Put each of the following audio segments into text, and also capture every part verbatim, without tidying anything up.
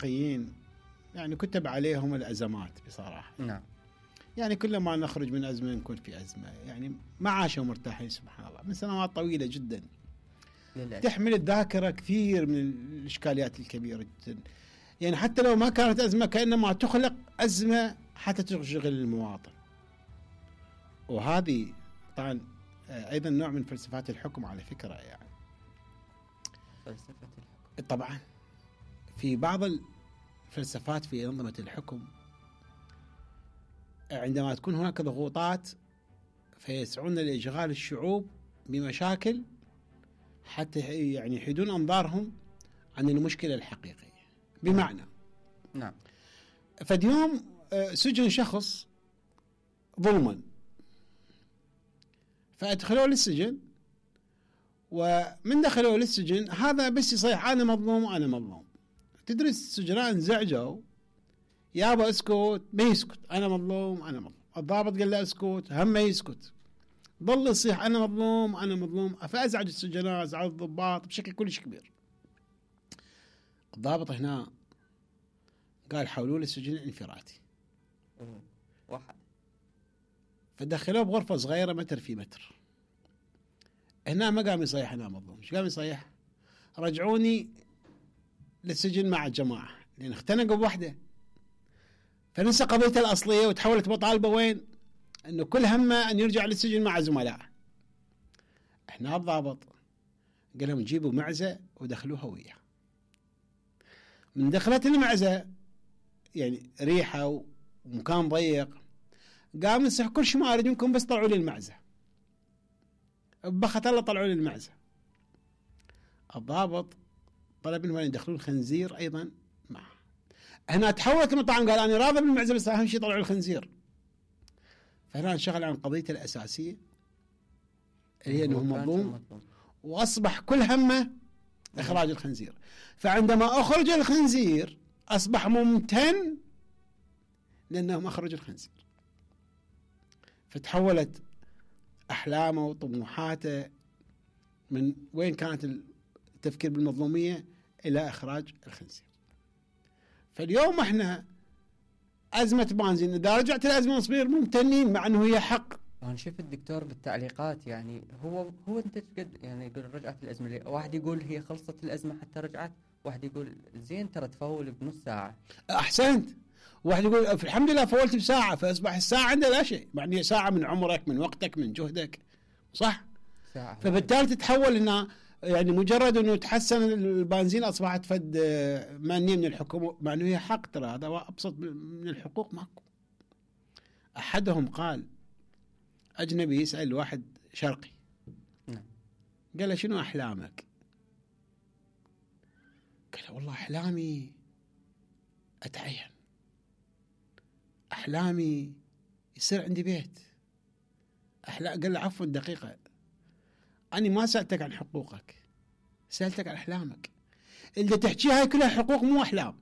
قيين يعني كتب عليهم الأزمات بصراحة. نعم. يعني كل ما نخرج من أزمة نكون في أزمة، يعني ما عاشوا مرتاحين سبحان الله من سنوات طويلة جدا. للأسف. تحمل الذاكرة كثير من الإشكاليات الكبيرة جدا، يعني حتى لو ما كانت أزمة كأنما تخلق أزمة حتى تشغل المواطن. وهذه طبعا أيضا نوع من فلسفات الحكم على فكرة. يعني فلسفة الحكم طبعا في بعض الفلسفات في أنظمة الحكم عندما تكون هناك ضغوطات فيسعون لإشغال الشعوب بمشاكل حتى يعني يحيدون أنظارهم عن المشكلة الحقيقية. بمعنى نعم فاليوم سجن شخص ظلما فأدخلوه للسجن، ومن دخلوه للسجن هذا بس يصيح أنا مظلوم وأنا مظلوم. تدري السجناء انزعجوا، يابا اسكت، ما يسكت، أنا مظلوم أنا مظلوم. الضابط قال له اسكت، هم ما يسكت، ظل يصيح أنا مظلوم أنا مظلوم. فأزعج السجناء، أزعج الضباط بشكل كلش كبير. الضابط هنا قال حولوا لي السجن الانفرادي واحد، فدخلوه بغرفة صغيرة متر في متر. هنا ما قام يصيح أنا مظلوم، شو قام يصيح؟ رجعوني للسجن مع الجماعة، لأن اختنقوا بوحدة. فنسى قضيته الأصلية وتحولت مطالبة وين؟ أنه كل همه أن يرجع للسجن مع زملائه. احنا الضابط قال لهم جيبوا معزة ودخلوها وياه. من دخلت المعزة يعني ريحة ومكان ضيق، قام يصيح كل شيء ما أريد منكم بس طلعوا لي المعزة. بخت الله طلعوا لي المعزة. الضابط طلب منهم أن يدخلون الخنزير أيضا معه. هنا تحولت المطعم قال أنا راضي بالمعزة بس أهم شيء طلعوا الخنزير. فهنا انشغل عن قضيته الأساسية اللي هي أنه مظلوم، وأصبح كل همه إخراج الخنزير. فعندما أخرج الخنزير أصبح ممتن لأنهم أخرجوا الخنزير. فتحولت أحلامه وطموحاته من وين كانت التفكير بالمظلومية إلى إخراج الخنزير. فاليوم احنا أزمة بنزين إذا رجعت الأزمة نصير ممتنين مع أنه هي حق. أنا شفت الدكتور بالتعليقات يعني هو هو أنت قد يعني يقول رجعت الأزمة ليه؟ واحد يقول هي خلصت الأزمة حتى رجعت، واحد يقول زين ترى تفول بنص ساعة. أحسنت. واحد يقول الحمد لله فولت بساعة، فأصبح الساعة عنده لا شيء، يعني ساعة من عمرك من وقتك من جهدك، صح؟ ساعة. فبالتالي تتحول إنها يعني مجرد إنه تحسن البنزين أصبحت فد مانية من الحكومة، مع إنه هي حق. ترى هذا أبسط من الحقوق ماكو. أحدهم قال أجنبي يسأل واحد شرقي نعم. قال له شنو أحلامك؟ قال له والله أحلامي أتعين، أحلامي يصير عندي بيت. أحلا... قال له عفوا دقيقة، أنا ما سألتك عن حقوقك، سألتك عن أحلامك. اللي تحكيها هاي كلها حقوق مو أحلام.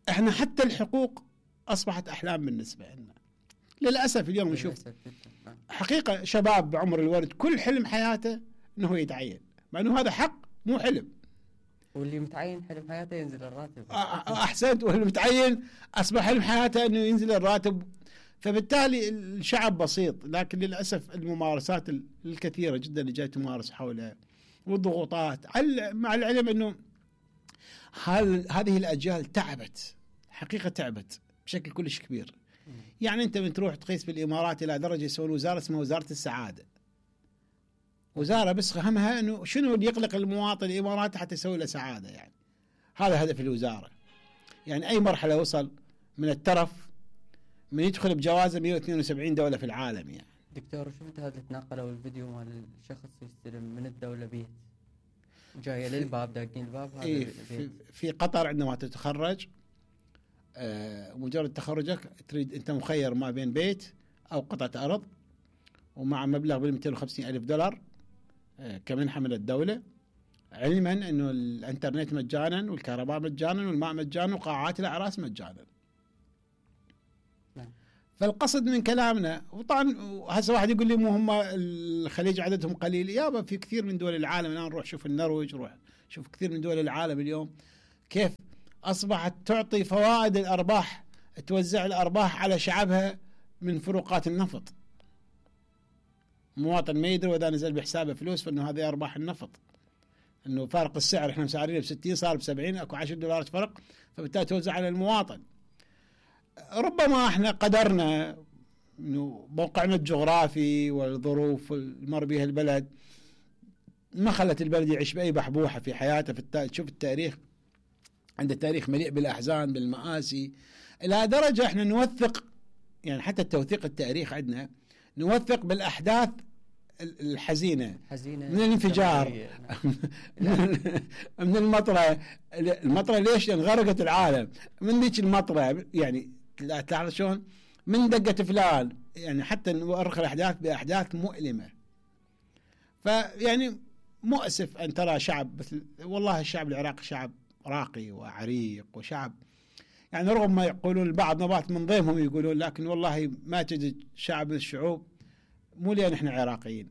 إحنا حتى الحقوق أصبحت أحلام بالنسبة لنا للأسف. اليوم نشوف حقيقة شباب بعمر الورد كل حلم حياته أنه يتعين، مع أنه هذا حق مو حلم. واللي متعين حلم حياته ينزل الراتب. أحسنت. واللي متعين أصبح حلم حياته أنه ينزل الراتب. فبالتالي الشعب بسيط، لكن للأسف الممارسات الكثيرة جدا اللي جاي تمارس حوله والضغوطات، مع العلم أنه هذه الأجيال تعبت حقيقة، تعبت بشكل كلش كبير. يعني أنت من تروح تقيس في الإمارات إلى درجة يسوون وزارة اسمها وزارة السعادة، وزارة بس همها أنه شنو اللي يقلق المواطن الإماراتي حتى يسوي له سعادة. يعني هذا هدف الوزارة. يعني أي مرحلة وصل من الترف من يدخل بجوازة مئة واثنين وسبعين دولة في العالم. يعني دكتور شفت هذا تناقلوا الفيديو مال الشخص يستلم من الدولة بيت جاية للباب داقين الباب هذا إيه في, في قطر عندما تتخرج آه مجرد تخرجك تريد أنت مخير ما بين بيت أو قطعة أرض، ومع مبلغ بالمئتين وخمسين ألف دولار آه كمنحة من الدولة، علما أنه الانترنت مجانا والكهرباء مجانا والماء مجانا وقاعات الأعراس مجانا. فالقصد من كلامنا، وطبعا هسه واحد يقول لي مو هم الخليج عددهم قليل، يابا في كثير من دول العالم. الآن نروح شوف النرويج، روح شوف كثير من دول العالم اليوم كيف أصبحت تعطي فوائد الأرباح، توزع الأرباح على شعبها من فروقات النفط. مواطن ما يدري وإذا نزل بحسابه فلوس فإنه هذه أرباح النفط، إنه فارق السعر إحنا مسعرينه بستين صار بسبعين، أكو عشر دولارات فرق، فبالتالي توزع على المواطن. ربما إحنا قدرنا إنه موقعنا الجغرافي والظروف المر بها البلد ما خلت البلد يعيش بأي بحبوحة في حياته. في التا... تشوف التاريخ، عند التاريخ مليء بالأحزان بالمآسي، إلى درجة إحنا نوثق، يعني حتى التوثيق التاريخ عندنا نوثق بالأحداث الحزينة، حزينة من الانفجار من المطرة. المطرة ليش؟ لأن غرقت العالم من ذيك المطرة، يعني تعرف شلون من دقة فلان، يعني حتى نؤرخ الأحداث بأحداث مؤلمة. فيعني مؤسف أن ترى شعب مثل، والله الشعب العراقي شعب راقي وعريق وشعب، يعني رغم ما يقولون البعض نبات من ضيمهم يقولون، لكن والله ما تجد شعب من الشعوب، مو لأن احنا عراقيين،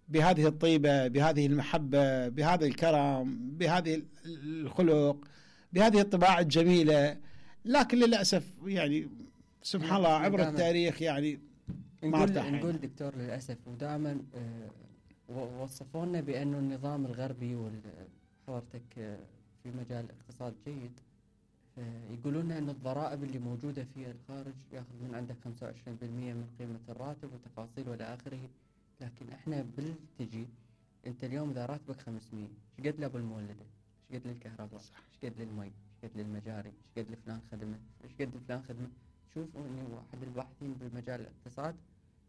بهذه الطيبة، بهذه المحبة، بهذا الكرم، بهذه الخلق، بهذه الطباع الجميلة. لكن للأسف يعني سبحان الله عبر التاريخ يعني ما نقول, نقول دكتور للأسف، ودائما وصفونا بأنه النظام الغربي وحضرتك في مجال الاقتصاد جيد، يقولون أن الضرائب اللي موجودة في الخارج يأخذ من عندك خمسة وعشرين بالمئة من قيمة الراتب وتفاصيل وإلى آخره. لكن احنا بالتجي انت اليوم اذا راتبك خمسمية، ايش قد لابو المولده؟ ايش قد للكهرباء؟ ايش قد للمي؟ ايش قد للمجاري؟ ايش قد لفلان خدمه؟ ايش قد لفلان خدمه؟ شوف اني واحد الباحثين بمجال الاقتصاد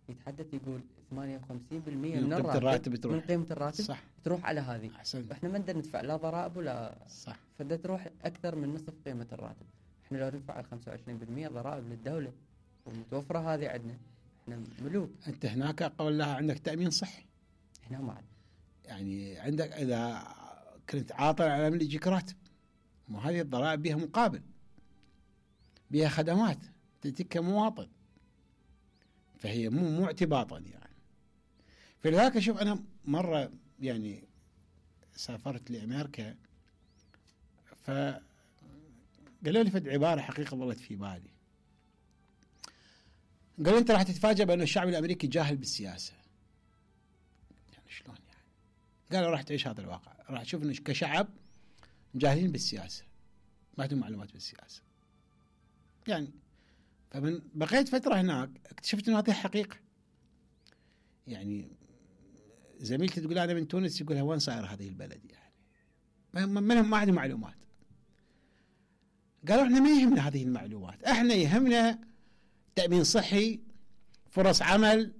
يتحدث يقول ثمانية وخمسين بالمئة من الراتب من قيمه الراتب صح. تروح على هذه. أحسن. احنا ما نقدر ندفع لا ضرائب ولا صح، فدا تروح اكثر من نصف قيمه الراتب. احنا لو ندفع خمسة وعشرين بالمئة ضرائب للدوله ومتوفره هذه عندنا، احنا ملوك. انت هناك قول لها عندك تأمين صحي، احنا ما عندنا، يعني عندك اذا كنت عاطل على من يجيك راتب، مو هذه الضرائب بها مقابل، بها خدمات تأتيك كمواطن، فهي مو مو اعتباطا يعني. فلذلك شوف انا مره يعني سافرت لامريكا، فقالوا لي فد عباره حقيقه ظلت في بالي. قالوا انت راح تتفاجأ بأن الشعب الامريكي جاهل بالسياسه. يعني شلون يعني؟ قالوا راح تعيش هذا الواقع، راح تشوف ان كشعب جاهلين بالسياسه، ما عندهم معلومات بالسياسه. يعني فمن بقيت فتره هناك اكتشفت انه هذه حقيقه. يعني زميلتي تقول انا من تونس، يقولها وين صاير هذه البلد؟ يعني ما ما عندهم معلومات. قالوا احنا ما يهمنا هذه المعلومات، احنا يهمنا تأمين صحي، فرص عمل،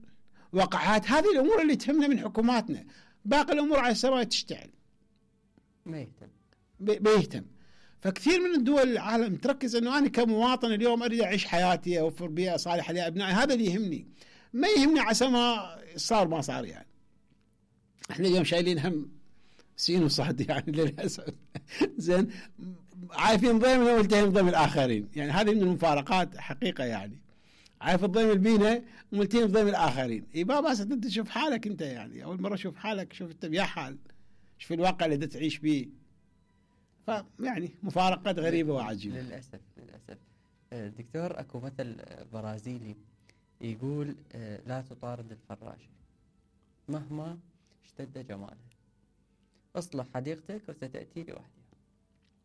وقعات، هذه الأمور اللي تهمنا من حكوماتنا. باقي الأمور على السماء تشتعل ما يهتم بيهتم. فكثير من الدول العالم تركز أنه أنا كمواطن اليوم أريد أعيش حياتي، أوفر بيئة صالحة لأبنائي، هذا اللي يهمني، ما يهمني عسى ما صار ما صار. يعني احنا اليوم شايلين هم سين وصاد يعني للأسف. زين عارفين ضيمنا والتهم ضيم الآخرين، يعني هذه من المفارقات حقيقة. يعني عارف الضيم البينة وملتين بضيم الآخرين. إيه بابا انت تشوف حالك انت، يعني أول مرة شوف حالك، شوف انت بيا حال، شوف الواقع اللي تعيش به. فيعني مفارقات غريبة وعجيبة للأسف. للأسف دكتور، أكو مثل برازيلي يقول لا تطارد الفراشة مهما اشتد جمالها، اصلح حديقتك وستأتي لوحدها.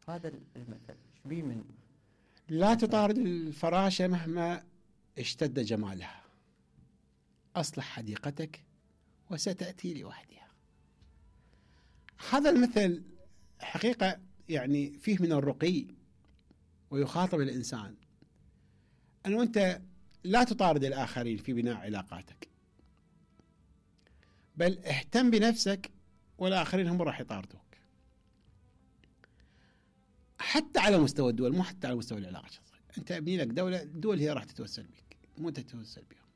هذا المثل شبيه من لا تطارد الفراشة مهما اشتد جمالها، أصلح حديقتك وستأتي لوحدها. هذا المثل حقيقة يعني فيه من الرقي، ويخاطب الإنسان أنه أنت لا تطارد الآخرين في بناء علاقاتك، بل اهتم بنفسك والآخرين هم راح يطاردوك، حتى على مستوى الدول، مو حتى على مستوى العلاقة الشخصية. أنت ابني لك دولة، الدول هي راح تتوسل بك، مو أنت تتوسل بها.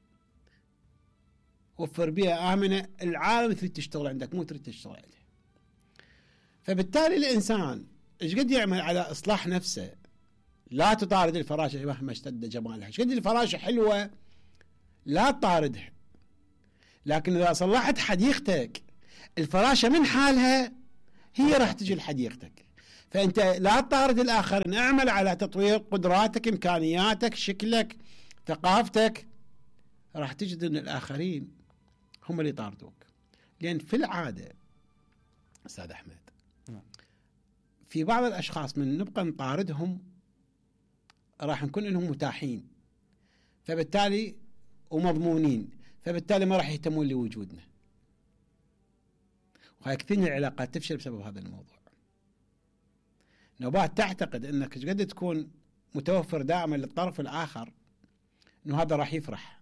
وفر بيئة آمنة، العالم تريد تشتغل عندك مو تريد تشتغل عليه. فبالتالي الإنسان إيش قد يعمل على إصلاح نفسه. لا تطارد الفراشة مهما اشتد جمالها. إيش قد الفراشة حلوة لا تطاردها، لكن إذا صلحت حديقتك الفراشة من حالها هي راح تجي لحديقتك. فأنت لا تطارد الآخرين، اعمل على تطوير قدراتك، إمكانياتك، شكلك، ثقافتك. راح تجد أن الآخرين هم اللي يطاردوك. لأن في العادة أستاذ أحمد في بعض الأشخاص من نبقى نطاردهم راح نكون لهم متاحين، فبالتالي ومضمونين، فبالتالي ما راح يهتمون لوجودنا. وهاي كثير من العلاقات تفشل بسبب هذا الموضوع. نوبات تعتقد أنك قد تكون متوفر دائما للطرف الآخر أنه هذا راح يفرح،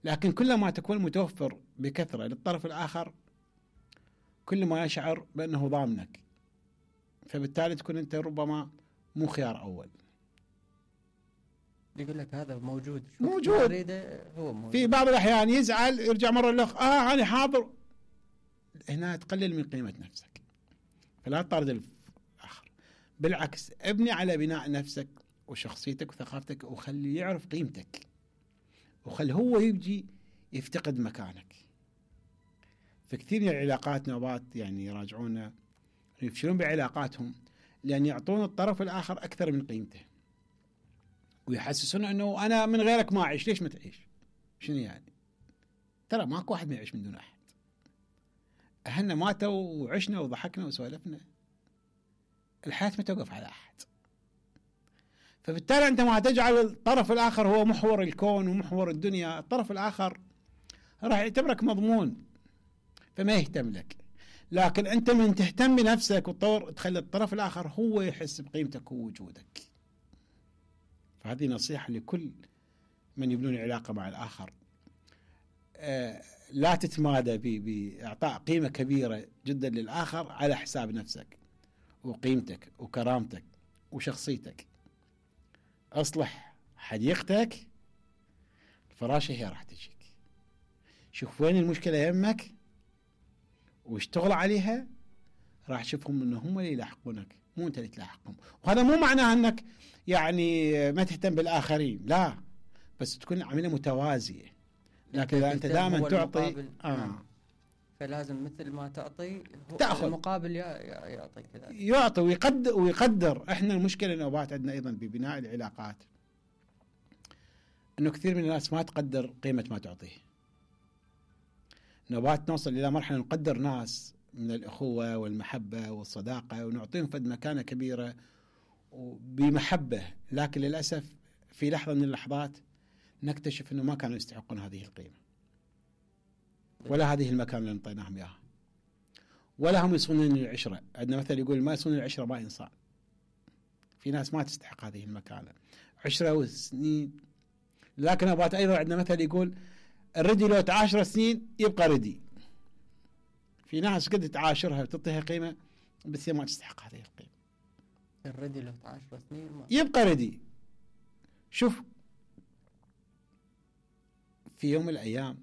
لكن كلما تكون متوفر بكثرة للطرف الآخر كل ما يشعر بأنه ضامنك، فبالتالي تكون أنت ربما مو خيار أول. يقول لك هذا موجود موجود هو موجود. في بعض الأحيان يزعل يرجع مرة الأخ آه أنا حاضر. هنا تقلل من قيمة نفسك، فلا تطارد الآخر، بالعكس ابني على بناء نفسك وشخصيتك وثقافتك، وخلي يعرف قيمتك، وخل هو يجي يفتقد مكانك. فكثير من العلاقات نوبات يعني يراجعونا يفشلون بعلاقاتهم لأن يعطون الطرف الآخر أكثر من قيمته، ويحسسون أنه أنا من غيرك ما أعيش، ليش ما تعيش؟ شنو يعني؟ ترى ماكو واحد ما يعيش من دون أحد. أهلنا ماتوا وعشنا وضحكنا وسولفنا، الحياة ما توقف على أحد. فبالتالي أنت ما تجعل الطرف الآخر هو محور الكون ومحور الدنيا، الطرف الآخر راح يعتبرك مضمون فما يهتم لك. لكن أنت من تهتم بنفسك وتطور تخلي الطرف الآخر هو يحس بقيمتك ووجودك. فهذه نصيحة لكل من يبنون علاقة مع الآخر. آه لا تتمادى بإعطاء قيمة كبيرة جدا للآخر على حساب نفسك وقيمتك وكرامتك وشخصيتك. أصلح حديقتك، الفراشة هي راح تجيك. شوف وين المشكلة يمك واشتغل عليها، راح تشوفهم انه هم اللي يلاحقونك مو انت اللي تلاحقهم. وهذا مو معناه انك يعني ما تهتم بالآخرين، لا، بس تكون عملية متوازية. لكن اذا انت دائما تعطي آه. فلازم مثل ما تعطي تأخذ المقابل يعطي كذا، يعطي ويقدر ويقدر. احنا المشكلة نوبات عندنا ايضا ببناء العلاقات انه كثير من الناس ما تقدر قيمة ما تعطيه. نوبات نوصل الى مرحلة نقدر ناس من الأخوة والمحبة والصداقة ونعطيهم فد مكانة كبيرة وبمحبة، لكن للأسف في لحظة من اللحظات نكتشف أنه ما كانوا يستحقون هذه القيمة ولا هذه المكانة اللي نطيناهم إياها، ولا هم يصونون العشرة. عندنا مثل يقول ما يصون العشرة ما إنسان. في ناس ما تستحق هذه المكانة عشرة وسنين. لكن أبات أيضا عندنا مثل يقول الردي لو تعاشر سنين يبقى ردي. في ناس قد تعاشرها وتعطيها قيمة بس هي ما تستحق هذه القيمة. الردي لو عشر سنين ما. يبقى ردي. شوف في يوم من الأيام